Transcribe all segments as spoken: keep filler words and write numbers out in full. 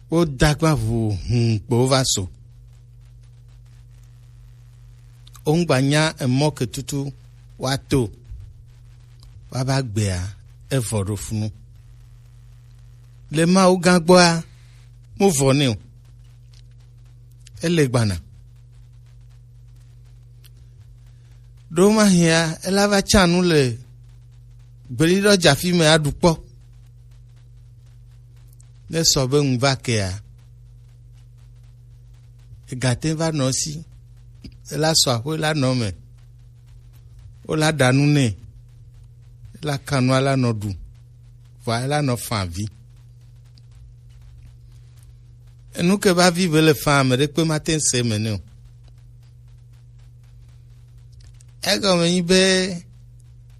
Wo dagba ʋu hũu kpo wo va so. Wo ŋgba nya emɔ ke tutu woato woava gbea, evɔ ɖo funu. Le Mawu gã gbɔa, mu vɔ nɛ o. Ele gbana. Ɖo mahia, ela va tsa nu le gbeɖiɖɔ dzafi me aɖu kpɔ. Ne sɔ be ŋu va kea, egate va nɔ si, ela sɔ aƒe la nɔ me, wola ɖa nu nɛ, ela ka nua la nɔ ɖu, vɔa ela nɔ fa vi. Enu ke va vi be le fa, ame ɖekpe mate ŋu se eme nɛ o. Egɔme nyi be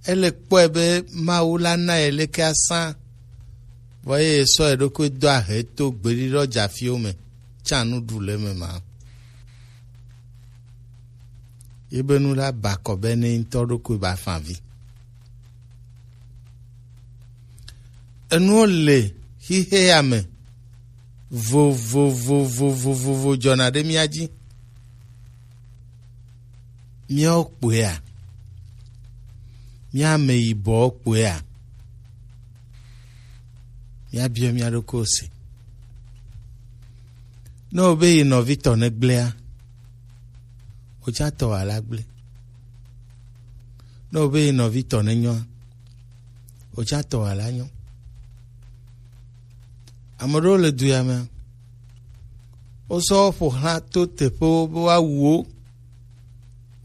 ele kpɔe be Mawu la na ye leke asã, vɔ eye sɔ eɖokui do ahe to gbeɖiɖɔ dzafiwo me, tsã nu ɖu le eme ma. Ye be nu la ba kɔ be ne ŋutɔ ɖokui ba fa vi. Enuwo le xixea me vovovovovovovo dzɔna ɖe mía dzi. Míawo kpoea, mía ame yibɔwo kpoea, míabiɔ mía ɖokuiwo se. Ne wobe yi nɔvi tɔ ne gblẽa, wòtsã tɔ wòala gblẽ. Ne wobe yi nɔvi tɔ ne nyɔa, wòtsã tɔ wòala nyɔ. Ame ɖewo le du ya mea, wosɔ wo ƒo xlã to teƒewo be woawu wo.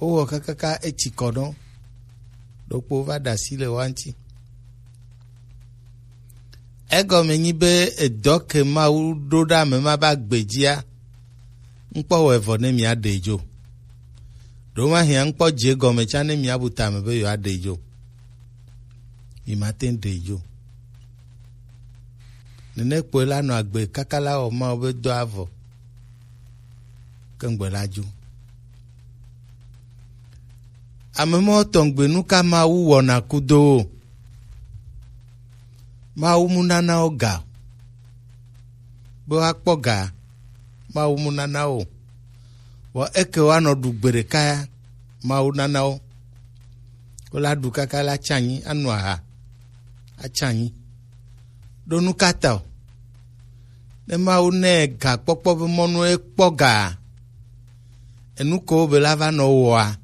Wowɔ kakaka etsi kɔ nɔ ɖokpo va ɖe asi le woa ŋuti. Egɔme nyi be edɔ ke Mawu ɖo ɖe ame ma be agbe dzia, ŋkpɔ wɔ evɔ ne mia ɖe dzo. Ɖo ma hia ŋkpɔ dze gɔme tsã ne mia bu tame be yewoa ɖe dzo. Mi mate ŋu ɖe dzo. Nene kpɔe la nɔ agbe kaka la wɔ Mawu be dɔ avɔ. Ke ŋgbe la dzo. Ame mɔ tɔngbe nu ka Mawu wɔna kudo wo? Mawu mu nana wo ga. Be woakpɔ ga, Mawu mu nana wo. Vɔ eke woanɔ ɖu gbe ɖeka ya, Mawu nana wo. Wola ɖu kaka la tsanyi, anu aha, atsanyi. Ɖo nu ka ta o? Ne Mawu nɛ gakpɔkpɔ be mɔnu ekpɔ ga, enu ko be la va nɔ wɔa,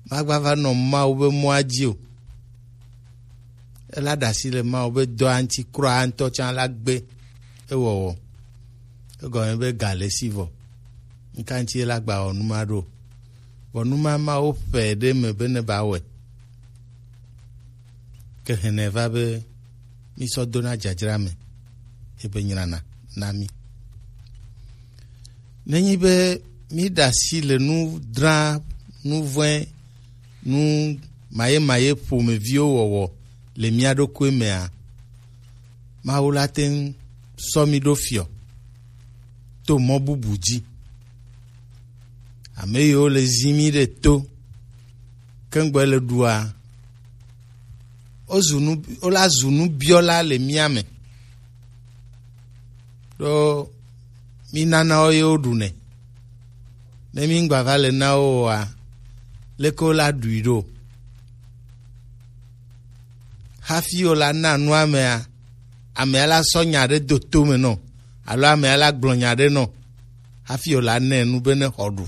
magba va nɔ Mawu be mɔa dzi o. Ela ɖe asi le Mawu be dɔa ŋuti kura ŋutɔ tsã la gbe ewɔwɔ. Egɔme be ga le si vɔ. Ŋka ŋuti ela gba wɔ nu ma ɖo? Vɔ nu ma Mawu ƒe ɖe me be ne ba wɔe. Ke hɛnɛ va be mi sɔ dona dzadzra me, ebe nyrana na mi. Nenyi be mi ɖe asi le nu dra, nu vɔ̃e, nu mayemaye ƒomeviwo wɔwɔ le mia ɖokui mea, Mawu la te ŋu sɔ mi ɖo fiɔ to mɔ bubu dzi. Ame yiwo le zi mi ɖe to, kengbe le ɖua, wozu nu, wola zu nubiɔla le mía me. Ɖo mi nana wo ye woɖu nɛ. Ne mi ŋgba va le na wo oa, leke wola ɖui ɖo? Hafi wola na nua amea, amea la sɔ nya ɖe do to me nɔ, alo amea la gblɔ nya ɖe nɔ, hafi wola nɛ nu be ne xɔ ɖu.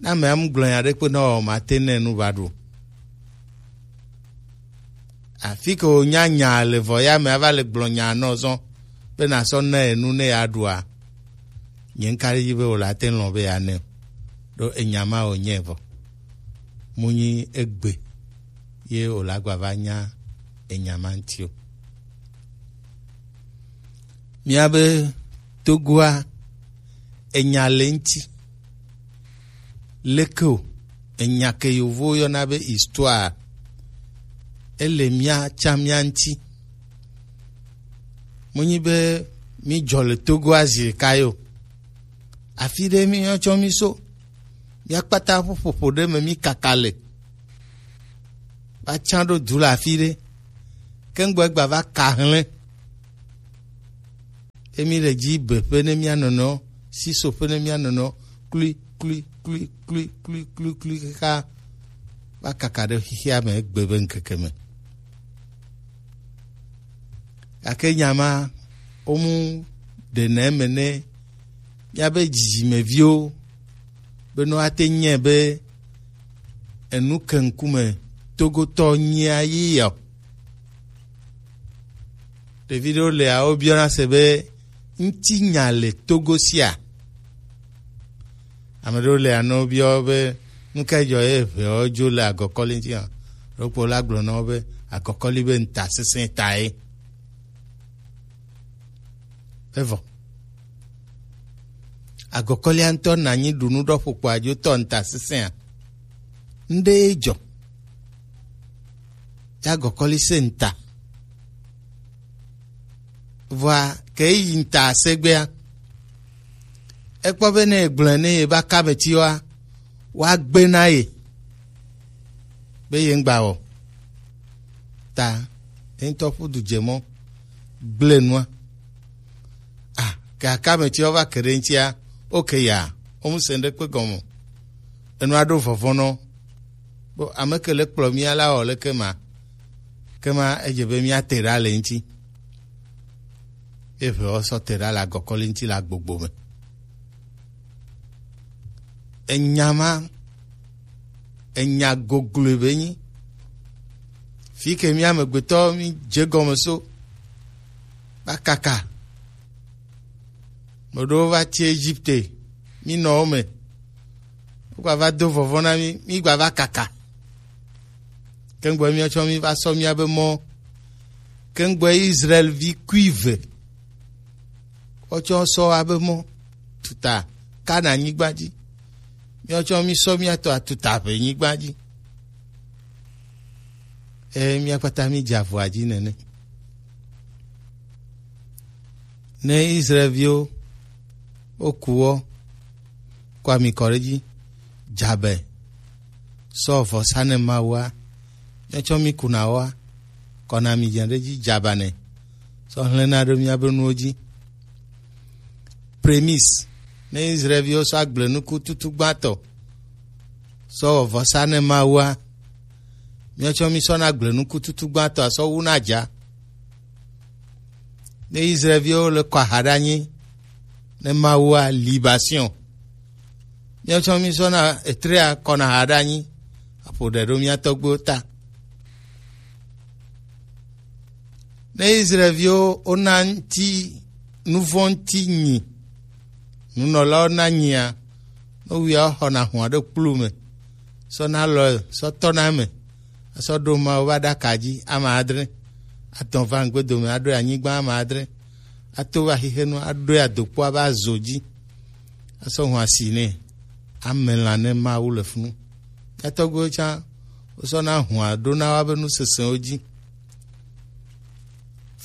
Ne amea mu gblɔ nya ɖe kpe nɔ o, mate nɛ nu va ɖu. Afi ke wònya nya le vɔ ya me ava le gblɔ nya nɔ zɔ be nasɔ na enu ne ya ɖua. Nye ŋka ɖe edzi be wòle ate ŋu lɔ̃ be yeanɛ o. Ɖo enya ma wònye vɔ. Mu nyi egbe ye wòle agba va nya enya ma ŋuti o. Míabe Togoa, enya le ŋuti. Leke o, enya ke yovowo yɔna be histoire, ele mía tsã mía ŋuti. Menyi be mídzɔ le Togoa zi ɖeka ye o. Afi ɖe míetsɔ mí so. Mía kpata ƒe ƒoƒo ɖe me mí kaka le. Va tsã ɖo du le afi ɖe. Ke ŋgbɔ egba va ka hlẽ. Emi le dzi be ƒe ne mía nɔnɔ, si so ƒe ne mía nɔnɔ, klui, klui, klui, klui, klui, klui, klui, kaka va kaka ɖe xexea me egbe be ŋkeke me. Gake nya ma, womu ɖe ne eme ne míabe dzidzimeviwo be ne woate ŋu nyae be enu ke ŋkume Togotɔ nyia yi ya o. Ɖevi ɖewo lea, wobiɔna se be, ŋutinya le Togo sia? Ame ɖewo lea, ne wobiɔ wo be, nu kae dzɔ ye ʋeawo dzo le agɔkɔli ŋuti hã? Ɖokpo la gblɔ na wo be, agɔkɔli be ŋutasesẽ tae. Evɔ. Agɔkɔlia ŋutɔ na anyi ɖu nu ɖɔ ƒokpo adzo tɔ ŋutasesẽa. Ŋɖe ye dzɔ. Ya agɔkɔli se ŋuta. Vɔa, ke yi ŋuta segbea, ekpɔ be ne egblɔe ne ye ba ka be tiwa, woagbe na ye be ye ŋgba wɔ. Ta, ye ŋutɔ ƒu du dze mɔ, gblẽ nua. Ah, ke aka me tiwa va ke ɖe ŋutia, oke ya, wo mu se ŋɖe kpe gɔme. Enua ɖo vɔvɔ̃ nɔ. Bo ame ke le kplɔ mía la wɔ leke ma? Ke ma edze be mía te ɖa le ŋuti. Ye ʋe wɔ sɔ te ɖa le agɔkɔli ŋuti le agbogbo me. Enya ma, enya gogloe be nyi. Fi ke mía amegbetɔ mi dze gɔme so, va kaka. Meɖewo va tsi Egipte, mi nɔ wo me. Wogba va do vɔvɔ̃ na mi, mi gba va kaka. Kengbe míatsɔ mi va sɔ míabe mɔ. Kengbe Israel vi kuive. Wotsɔ sɔ abe mɔ tuta Kana nyigba dzi. Míatsɔ mi sɔ míatɔ atuta ƒe nyigba dzi. Eye mía kpata mi dze avɔa dzi nene. Ne Israelviwo woku wɔ kɔ ami kɔ ɖe dzi, dzabe sɔ vɔsa ne Mawua, míatsɔ mi kuna wɔa, kɔna mi dze ɖe dzi dzabanɛ, sɔ hlẽna ɖe míabe nuwo dzi. Prémisse, ne Israelviwo sɔ agblenuku tutu gbãtɔ sɔ wɔ vɔsa ne Mawua, míatsɔ mi sɔna agblenuku tutu gbãtɔ asɔ wuna dza. Ne Israelviwo le kɔ aha ɖe anyi ne Mawua, libation, míatsɔ mi sɔna etrea kɔna aha ɖe anyi aƒo ɖe ɖo mía tɔgbuiwo ta. Ne Israelviwo wona ŋuti nuvɔ̃ ŋuti nyi, nunɔlawo na nyia, ne wia woxɔna hũa ɖe kplu me, sɔ na lɔ sɔ tɔna eme, asɔ ɖo Mawu ƒe aɖaka dzi ame adre, atɔ̃ va ŋgbedome aɖoe anyigba ame adre, ato va xixenu aɖoe adokpo ava zo dzi, asɔ hũa si nɛ, ame lã ne Mawu le funu. Mía tɔgbuiwo tsã, wosɔna hũa ɖona woabe nu sesẽwo dzi.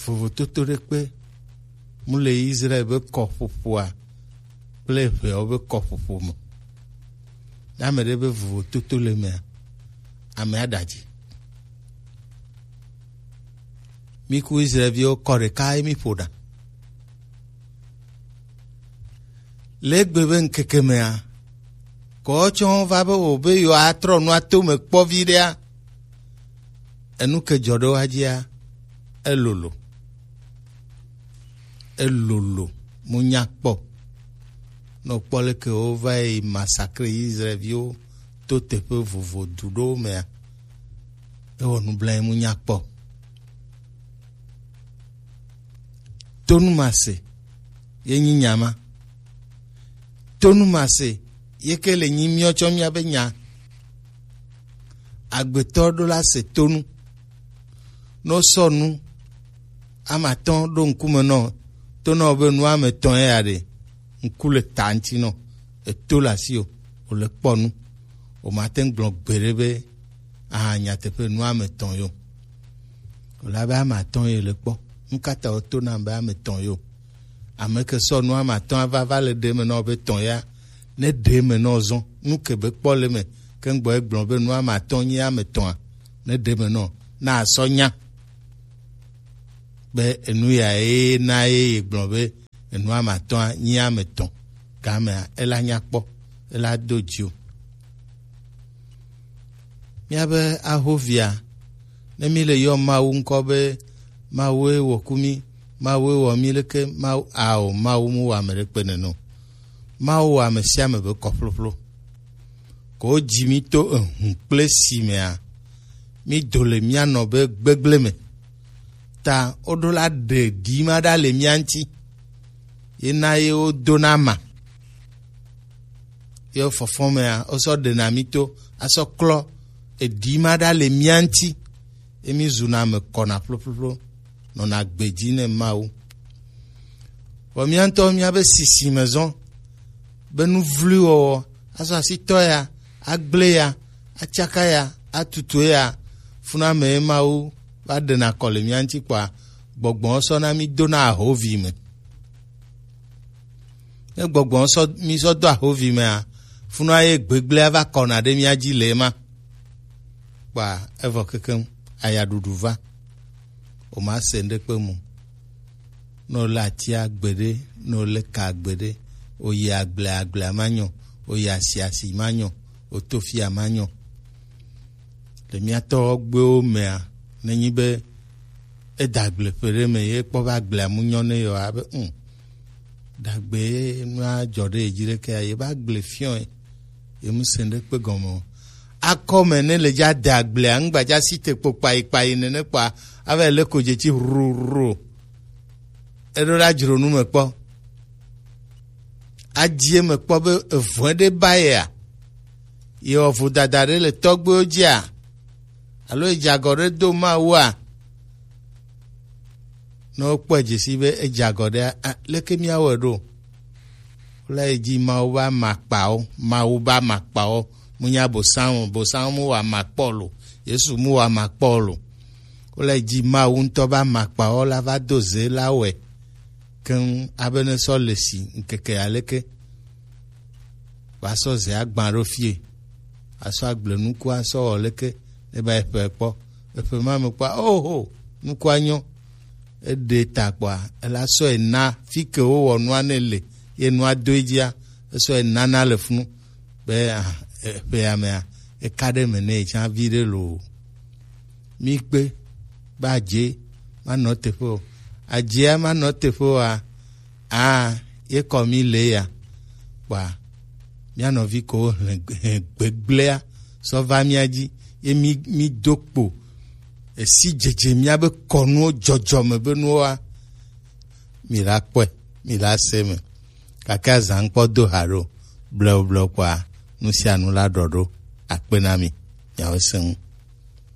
Vovototo ɖekpe mu le Israel be kɔƒoƒoa kple ʋeawo be kɔƒoƒo me. Ne ame ɖe be vovototo le mea, amea ɖe adzi. Mí ku Israelviwo kɔ ɖeka ye mí ƒo ɖa. Le egbe be ŋkeke mea, kɔ tsɔ va be wò be yewoatrɔ nua to me kpɔ viɖea, enu ke dzɔ ɖe woa dzia, elolo. Elolo, mu nya kpɔ. Ne wokpɔ leke wova yi masakre Israelviwo to teƒe vovo du ɖewo mea, ewɔ nublanui mu nya kpɔ. Tonu mase ye nyi nya ma. Tonu mase ye ke le nyi míawo tsɔ míabe nya. Agbetɔ ɖo la se tonu. Ne wosɔ nu ame atɔ̃ ɖo ŋkume nɔ, to nɔ be nu ame etɔ̃ ya ɖe, ŋku le ta ŋuti nɔ, eto le asi o, wòle kpɔ nu. Wòmate ŋu gblɔ gbeɖe be, aha, nyateƒe nu ame etɔ̃ yo. Wòle abe ame atɔ̃ ye le kpɔ. Nu ka ta wòto nam be ame etɔ̃ yo? Ame ke sɔ nu ame atɔ̃ ava va le ɖe me nɔ be etɔ̃ ya, ne ɖe me nɔ zɔn, nu ke be kpɔ le me, ke ŋgbɔ egblɔ be nu ame atɔ̃ nyi ame etɔ̃a, ne ɖe me nɔ, na asɔ nya be enu ya ye na ye ye gblɔ be Enu ame atɔ̃a nyi ame etɔ̃. Gamea ela nya kpɔ, ela do dzi o. Míabe ahovia, ne mí le yɔ Mawu ŋkɔ be Mawue wɔ ku mí, Mawue wɔ mí leke, Mawu ao, Mawu mu wɔ ame ɖekpe nene o. Mawu wɔ ame sia ame be kɔƒloƒlo. Ko wodzi mí to ehu kple si mea, mí do le mía nɔ be gbegblẽ me. Ta woɖo la ɖe ɖi ma ɖa le mía ŋuti. Ye na ye wodona ma. Ye fɔfɔ mea, wosɔ ɖena mí to, asɔ klɔ eɖi ma ɖa le mía ŋuti. Ye mí zuna ame kɔna ƒloƒloƒlo, nɔna gbe dzi ne Mawu. Vɔ mía ŋutɔ míabe sisi me zɔn be nu vloe wɔwɔ, azɔ asitɔ ya, agble ya, atsaka ya, atutu ya, funa me ye Mawu va ɖena kɔ le mía ŋuti kpɔa, gbɔgbɔ sɔ na mí dona ahovi me. Ne gbɔgbɔ sɔ mí sɔ do ahovi mea, funa ye gbegblẽ va kɔna ɖe mía dzi le ema. Kpɔa evɔ kekeŋ, ayaɖuɖu va. O ma se ŋɖekpe mu. Ne wole atia gbeɖe, ne wole ka gbeɖe, oyi agble, agblea ma nyɔ, oyi asi, asi ma nyɔ, oto fia ma nyɔ. Le mía tɔgbuiwo mea, nenyi be eda agble ƒe ɖe me ye kpɔ be agblea mu nyɔ ne yewoa, be, um, dagbe nua dzɔ ɖe ye dzi ɖekea, ye be agble fiɔ ye, ye mu se ŋɖekpe gɔme o. Akɔme ne le dza de agblea, ŋgbadza si te kpo kpayi kpayi nene kpɔa, ava le ko dzetsi hruru. Eɖo la dzro nu me kpɔ. Adzi eme kpɔ be evɔe ɖe ba yea. Ye wɔ vodada ɖe le tɔgbuiwo dzia? Alo edze agɔ ɖe do Mawua? Ne wokpɔe dze si be edze agɔ ɖea, a, leke míawɔe ɖo? Wole yi dzi Mawu be amakpawo, Mawu be amakpawo, mu nya Bosam, Bosam mu wɔ amakpɔ lo, Yesu mu wɔ amakpɔ lo. Wole yi dzi Mawu ŋutɔ be amakpawo la va do ze la wɔe keŋ abe ne sɔ le si ŋkeke aleke. Woasɔ ze agbã ɖo fie, asɔ agble nuku asɔ wɔ leke, ne va eƒe kpɔ, eƒe ma me kpɔa, oho, nukua nyɔ. Eɖe ta kpɔa, ela sɔe na fi ke wowɔ nua ne le, ye nua do edzia, esɔe nana le funu. Be, ah, eƒe ya mea, eka ɖe me ne etsã vi ɖe lo. Mi kpe, be adze manɔ teƒe o. Adzea manɔ teƒe oa, aa, ye kɔ mi le ya. Kpɔa, mía nɔvi ko hlẽ, hlẽ gbegblẽa sɔ va mía dzi, ye mi, mi do kpo. Esi dzedze míabe kɔnuwo dzɔdzɔme be nuwoa, mi la kpɔe, mi la se me. Gake azã ŋkpɔ do ha ɖo, blewu blewu kpɔa, nu sia nu la ɖɔ ɖo. Akpe na mi, miawo sẽŋu.